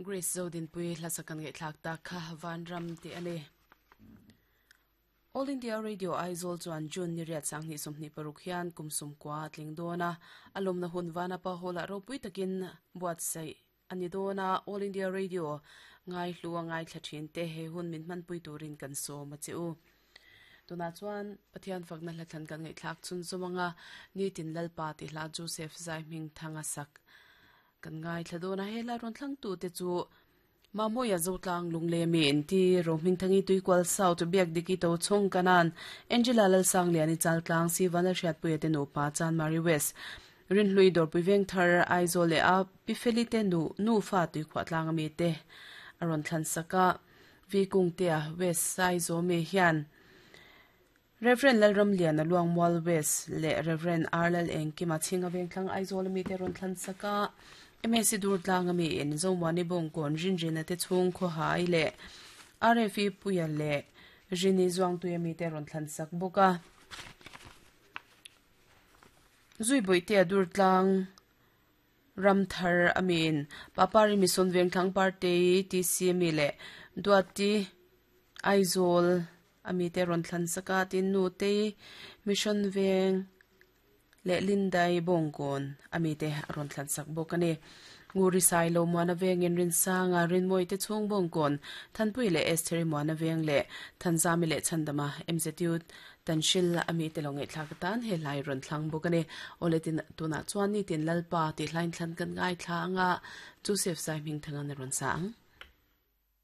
Grace Zodinpuii hla sak kan ngaihthlak tak kha Vanram tih a ni. All India Radio Aizawl chuan June ni riat 2026 hian kum sumkua a tling dawn a, a lawmna hun Vanapa Hall-ah ropui takin buatsaih a ni dawn a, All India Radio ngaihlu a ngaithla thin te he hun min hmanpui turin kan sawm a che u. Tunah chuan Pathian fakna hla thlan kan ngaihthlak chhunzawm anga Nitin Lalpa tih hla Joseph Zaihmingthanga sak Kan ngaithla dawn a, he lai rawn thlangtute chu Mamawia Zotlang Lunglemi inti Rohmingthangi Tuikual South Biakdiki Tochhawng Kanan Angela Lalsangliani Chaltlang Sivan Hriatpuia te nupa Chanmari West Rinhlui Dawrpui Vengthar Aizawl leh a Pifeli te nu nufa Tuikhuahtlang ami te a rawn thlan sak a, Vi Kungtea West Saizawmi hian Rev. Lalramliana Luangmual West leh Rev. R. Lalengkima Chhinga Vengthlang Aizawl ami te rawn thlan sak a, MSc Durtlang ami in Zomuani Bawngkawn Rinrina te chhung Khawhai leh RFE Puia leh Rini Zuangtui ami te rawn thlan sak bawk a. Zuibawihtea Durtlang Ramthar ami in Papari Mission Vengthlang Party TC ami leh Duati Aizawl ami te rawn thlan sak a tin Nutei Mission Veng leh Lindai Bawngkawn ami te a rawn thlan sak bawk a ni. Nguri Sailo Muana Vengin Rinsanga Rinmawii te chhung Bawngkawn Thanpui leh Estheri Muana Veng leh Thanzami leh Chhandama MZU Tanhril a mite lo ngaihthlak atan he hlai rawn thlang bawk a ni. Awle tin tunah chuan nitin Lalpa tih hlain thlan kan ngaithla anga Joseph Saihmingthangan a rawn sa ang.